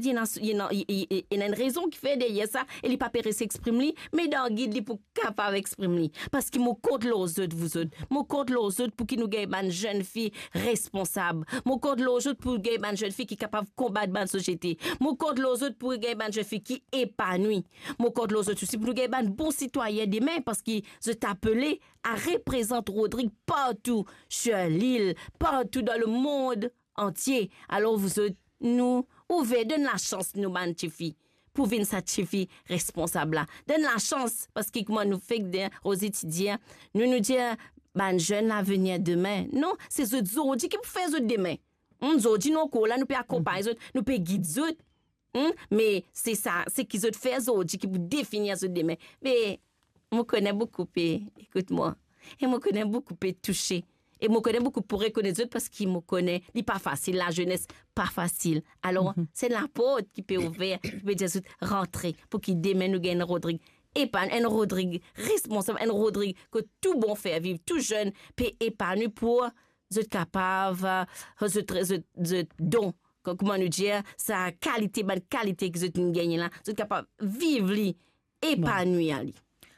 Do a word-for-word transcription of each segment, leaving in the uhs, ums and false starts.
ena, ena, ena enn rezon ki fer deryer sa, e li pa pe res exprim li, me dan gid li pou kapav exprim li. Parski mo kont lor zot, vouzot. Mo kont lor zot pou ki nou gagn bann zenn fi responsab. Mo kont lor zot pou gagn bann zenn fi ki kapav konbat bann sosiete. Mo kont lor zot pou gagn bann zenn fi ki epanwi. Mo kont lor zot osi pou nou gagn bann bon sitwayin demin, parski zot apele a reprezant Rodrig partou sir lil, partou dan lemond antie. Alor, vouzot, nou ouver, donn lasans nou bann tifi pou vinn sa tifi responsab la. Donn lasans, parski kouma nou fek dir, Rosie ti dir, nou, nou dir bann zenn lavenir demin. Non, se zot zordi ki pou fer zot demin. Hmm, zordi nou ankor la, nou pe akonpagn zot, nou pe gid zot. Hmm, me se sa, seki zot fer zordi ki pou definir zot demin. Me mo kone boukou pe ekout mwa. E mo kone boukou pe touse. E mo kone boukou pou rekonet zot, parski mo kone li pa fasil, lazenes pa fasil. Alor, se laport ki pe ouver, ki pe dir zot rantre, pou ki demin nou gagn enn Rodrig epanwi, enn Rodrig responsab, enn Rodrig ki tou bon fer viv, tou zenn pe epanwi pou zot kapav, eh, zot, zot, zot don, ko-, kouma nou dir, sa kalite, bann kalite ki zot inn gagne la, zot kapav viv li, epanwi ali.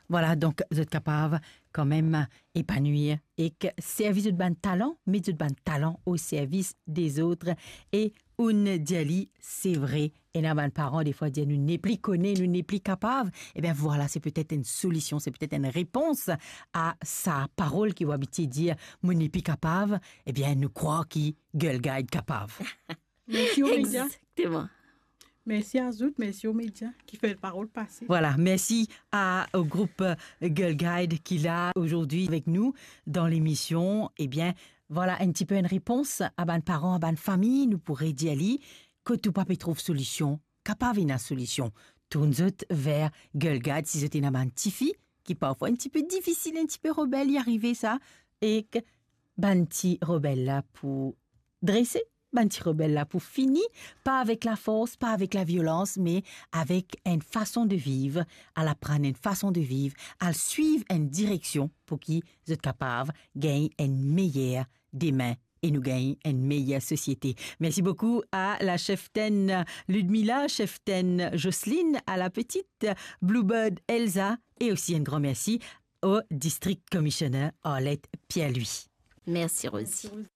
Vwala, donk zot kapav kanmem epanwi ek servi zot bann talan, met zot bann talan o servis dezot. E ou'nn dir li, se vre, ena bann paran defwa dir, nou nepli kone, nou nepli kapav. Ebien vwala, se petet enn solision, se petet enn repons a sa parol ki ou abitie dir, mo nepli kapav. Ebien nou krwar ki Girl Guide kapav. Mersi aux médias. Exactement. Mersi a zot, mersi aux médias ki fer parol pase. Vwala, mersi a, o group, eh, Girl Guide ki la azordi avek nou dan lemision. Ebien, vwala enn tipe enn repons a bann paran, a bann fami, nou pou redir li, kot ou pa pe trouv solision, kapav ena solision. Tourn zot ver Girl Guide si zot ena bann tifi ki parfwa enn tipe difisil, enn tipe rebel, li arive sa, ek bann ti rebel la pou drese, bann ti rebel la pou fini, pa avek lafors, pa avek laviolans, me avek enn fason de viv, al aprann enn fason de viv, al swiv enn direksion pou ki zot kapav gagn enn meyer demin e nou gagn enn meyer sosiete. Mersi boukou a la cheftenn Ludmila, cheftenn Jocelyne, a la petite Bluebird Elsa, e osi enn gran mersi o District Commissioner Arlette Pierre-Louis. Mersi, Rosie.